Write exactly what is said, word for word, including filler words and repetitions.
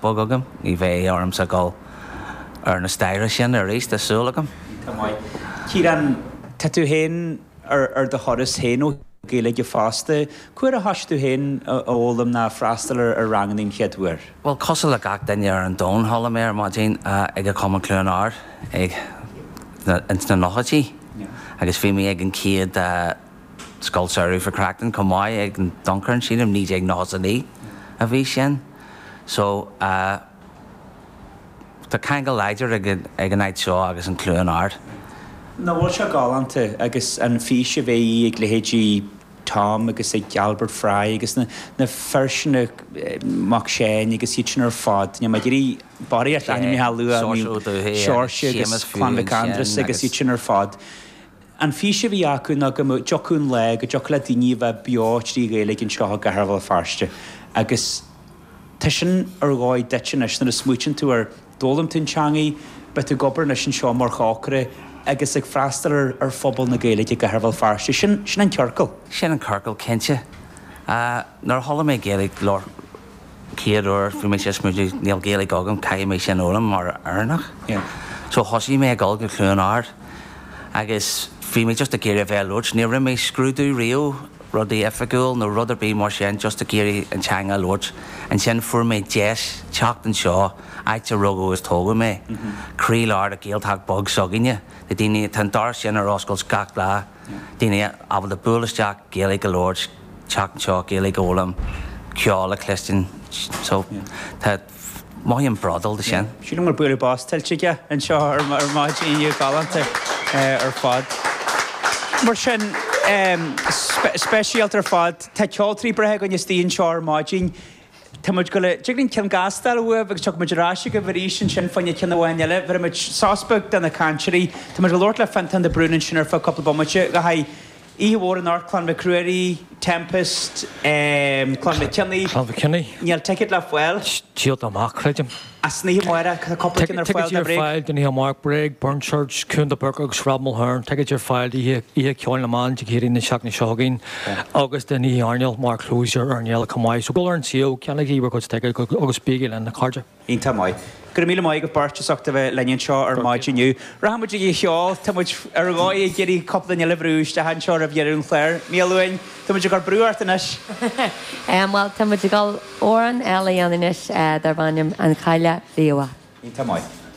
beag agam, ní bheidh ormsa dul ar na staighre sin arís, tá súil agam. Tá maith. Ciarán, tá tú féin ar ar do thuras féin ó Gaeilge fosta. Cá huair a thosaigh tú féin a fhoghlaim ná freastal ar ar ranganna an chéad uair? Bhuel, cosúil le gach duine ar an domhan, chuala mé ar maidin ag an Chumann Cluain Ard ag ins na nóchaidí agus bhí mé ag an chéad scoil samhraidh for Cracton chomh maith ag an Duncairn, sílim, naoi déag nócha a naoi a bhí sin. So, tá ceangal láidir ag ag an áit seo agus an Cluain Ard. Nach bhfuil sé galánta agus an fís a bhí ag leithéidí Tom agus ag Albert Fry agus na na fir sin, Mac Seáin agus iad sin ar fad, níl mé ag iarraidh barraíocht ainmneacha a lua, Seoirse agus Clann Mhic Aindreasa agus iad sin ar fad. An fís a bhí acu ná go dtiocfadh an lá go dtiocfadh le daoine a bheith beo trí Ghaeilge anseo i gCathair Bhéal Feirste agus tá sin ar dhóigh duit anois nuair a smaoitíonn tú ar d'fhoghlaim tú an teangaidh, beidh tú ag obair anois anseo mar chócaire agus ag freastal ar ar phobal na Gaeilge i gCathair Bhéal Feirste. Sin sin an ciorcal. Sin an ciorcal, cinnte. Nuair a chuala mé Gaeilge labhairt chéad uair, bhí mé ag smaoineamh, níl Gaeilge agam, caithfidh mé sin a fhoghlaim mar Éireannach. So thosaigh mé ag dul go Cluain Ard agus bhí mé just ag iarraidh a bheith ag labhairt. Ní raibh mé scrúdú riamh, rudaí oifigiúil nó rud ar bith mar sin, just ag iarraidh an teanga a labhairt. Ansin fuair mé deis teacht anseo, áit a rugadh agus tógadh mé, croílár de Ghaeltacht beag s'againne. Na daoine, tá an doras sin ar oscailt gach lá, daoine ábalta bualadh isteach, Gaeilge a labhairt, teacht anseo, Gaeilge a fhoghlaim, ceol a chluinstin. So, tá, mothaím bródúil de sin. Sílim go bhfuil bualadh bos tuillte aige anseo ar maidin inniu, galánta ar fad. Mar sin, speisialta ar fad. Tá ceoltóirí breátha againn istigh anseo ar maidin. Tá muid ag dul, tig linn ceann gasta a fháil uaibh agus tiocfaidh muid ar ais agaibh arís ansin fá choinne ceann amháin eile. Bhéarfaidh muid sos beag do na cainteoirí. Tá muid ag labhairt le Fionntán de Brún ansin ar feadh cúpla bomaite. Le haghaidh oíche mhór anocht, Clann Mhic Ruairí, Tempest, Clann Mhic Cionnaith. Clann Mhic Cionnaith. Níl ticéid le fáil. Díolta amach, creidim. As an oíche amárach, tá cúpla ceann ar fáil de Bréag. Ticéid ar fáil don oíche amárach, Bréag, Burn Church, Cuan de Búrca agus Rob Mulhern. Ticéid ar fáil d'oíche Oíche Ceoil na mBan Dé Céadaoin na seachtaine seo chugainn agus don oíche airneáil mar closure ar an fhéile chomh maith. So dul ar an suíomh, ceannaigí bhur gcuid ticéad agus bígí linn, a chairde. Iontach maith. Go raibh míle maith agaibh beirt as ucht a bheith linn anseo ar maidin inniu. Rachaidh muid ag an cheol. Tá muid ar dhóigh ag iarraidh cúpla duine eile a bhrú isteach anseo roimh dheireadh an chláir. Maolmhain, tá muid ag cur brú ort anois. Bhuel, tá muid ag dul amhrán eile a dhéanamh anois darb ainm An Chailleach Bhíobhach. Iontach maith.